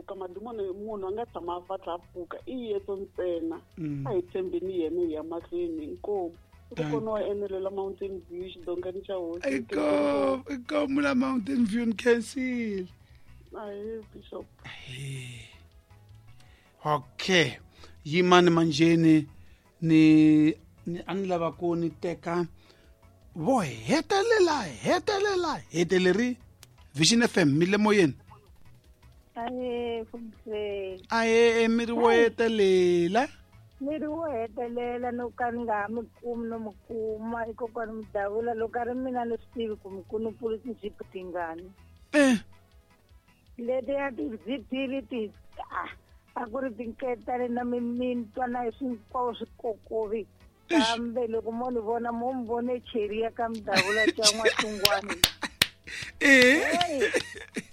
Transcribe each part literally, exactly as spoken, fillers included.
pfuka madimoni munhu a nga tshama a fa tlha pfuka i Yesu ntsena a hi tshembeni yena hi ya mahlweni inkomu kona wa enelela Mountain View xidongani xa hosi inkomu inkomu la Mountain View ni khensile ahe bishop. Okay yimani manjeni ni ni a ni lava ku ni teka vo hetelela hetelela heteleri Vision F M mi le moyeni. Ahe mfundisi. Ahe mi ri wo hetelela mi ri wo hetelela no ka ni nga ha mi kumi no mi kuma i kokwani Mudavula loko a ri mina ni swi tivi ku mi kunupulu tinjipi tingani eh letiya tizipili ti a ku ri tinketani na mimintwa na hinkwavo swikokovi kambe loko mo ni vona mo mi vone cheri ya ka Mudavula xa N'waxungwani eh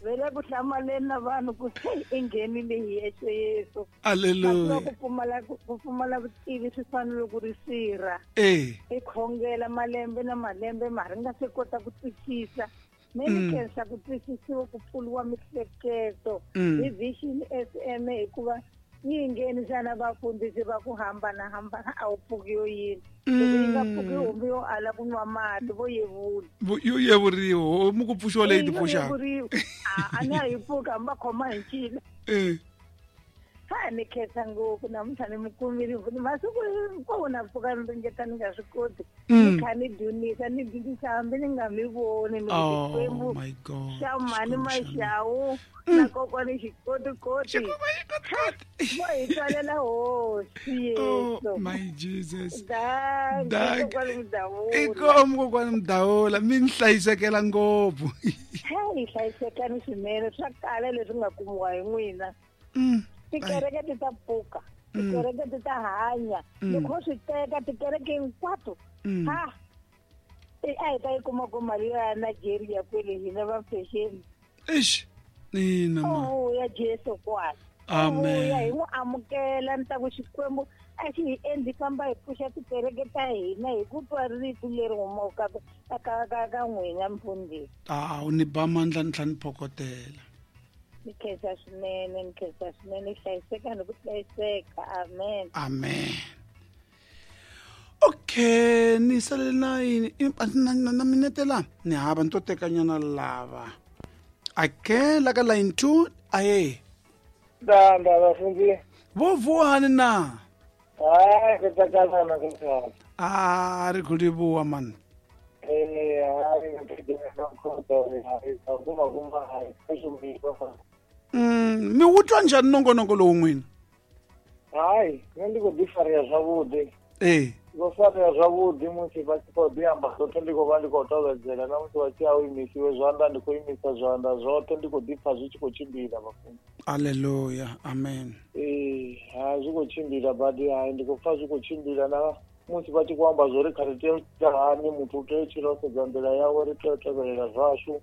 ve le ku hlamaleni na vanhu ku se i nghenile hi yexe Yesu. Haleluya. Ku pfumala ku pfumala vutivi swi fanele ku ri sirha eh i khongela malembe na malembe ma ri nga se kota ku twisisa me ni khensa ku twisisiwa ku pfuriwa mihleketo hi Vision F M hikuva yi nghenisa vafundhisi va ku hambana hambana a wu pfuki yo yini loko yi nga pfuki homu yo ala ku nwa mati vo yevula yo yevuriwa homu ku pfuxiwa leyi ti pfuxaka a ni a yi pfuka hambi va khoma hi ncila eh ha ni khensa ngopfu namuntlha ni mi kumile masiku hinkwawo na pfuka ni ringeta ni nga swi koti ni kha ni dyondzisa ni dyondzisa hambi ni nga mi voni ni Xikwembu xa mhani Maxawu na kokwani Xikotikoti vo hi twalela hosi Yesu. My Jesus. Dankie kokwani Mudavula. Inkomu kokwani Mudavula mi ni hlayisekela ngopfu. Hi hlayisekani swinene swa kala leswi nga kumiwa hi n'wina. Tikereke ti ta pfuka tikereke ti ta hanya loko swi teka tikereke hinkwato ha a hi ta yi kuma ku mali ya Nigeria kwele hina va fexeni eish nina ma vuya Jesu kwala amen vuya hi n'wi amukela ni ta ku Xikwembu a xi hi endli famba hi pfuxa tikereke ta hina hi ku twa rito leri humaka ka ka ka ka n'wina mfundhisi. A u ni ba mandla ni tlhela ni phokotela. Ni khensa swinene ni khensa swinene hlayiseka ni ku hlayiseka amen amen. Okay ni salele na yini na na minete la ni hava ni to tekanyana lava ake la ka line two aye da da vafundzi vo vuwani na hayi ku tsakalana ku tsaka a ri ku livhuwa mani eh hayi kuma kuma hayi mm mi wu twa njhani nongonoko lowu n'wina? Hayi nṋe ndi khou ḓi farea zwavhuḓi eh ndo farea zwavhuḓi musi vha tshi khou ḓi amba zwoṱhe ndi khou vha ndi khou tovhedzela na musi vha tshi a u imisiwe zwanḓa ndi khou imisa zwanḓa zwoṱhe ndi khou ḓi pfha zwi tshi khou tshimbila vhafunzi. Haleluya amen. Ee ha zwi khou tshimbila badi hayi ndi khou pfha zwi khou tshimbila na musi vha tshi khou amba zwori kha ri tea u tshila hani muthu u tea u tshila u sedza nḓila yawe ri tea u tevhelela zwashu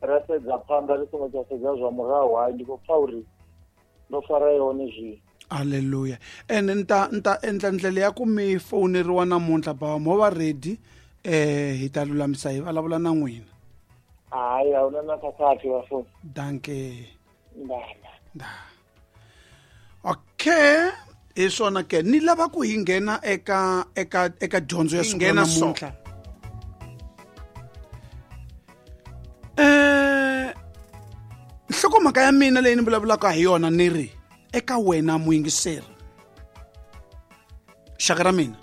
ra sedza phanḓa ri songo tsha sedza zwa murahu hayi ndi khou pfha uri ndo fara yone zwino. Haleluya. Ene nta nta endla ndlela ya ku mi foneriwa namuntlha bava mo va ready eh hi ta lulamisa hi vulavula na n'wina. Hayi a huna na khakhathi vafuni. Dankie. Ndala. Da. Okay. Hi swona ke ni lava ku hi nghena eka eka eka dyondzo ya siku ra namuntlha. Eh nhlokomhaka ya mina leyi ni vulavulaka hi yona ni ri eka wena muyingiseri xaka ra mina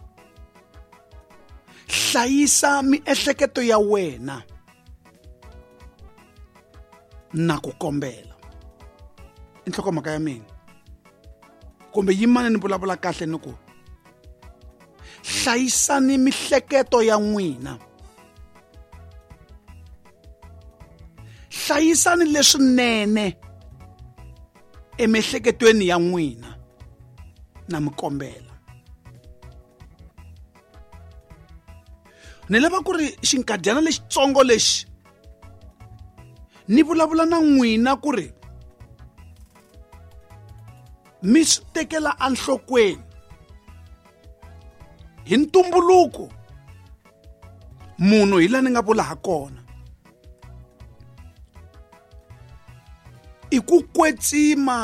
hlayisa miehleketo ya wena na ku kombela i nhlokomhaka ya mina kumbe yimani ni vulavula kahle ni ku hlayisani mihleketo ya n'wina hlayisani leswinene emihleketweni ya n'wina na mi kombela ni lava ku ri xinkadyana lexitsongo lexi ni vulavula na n'wina ku ri mi swi tekela enhlokweni hi ntumbuluko munhu hi laha ni nga vula ha kona i ku kwetsima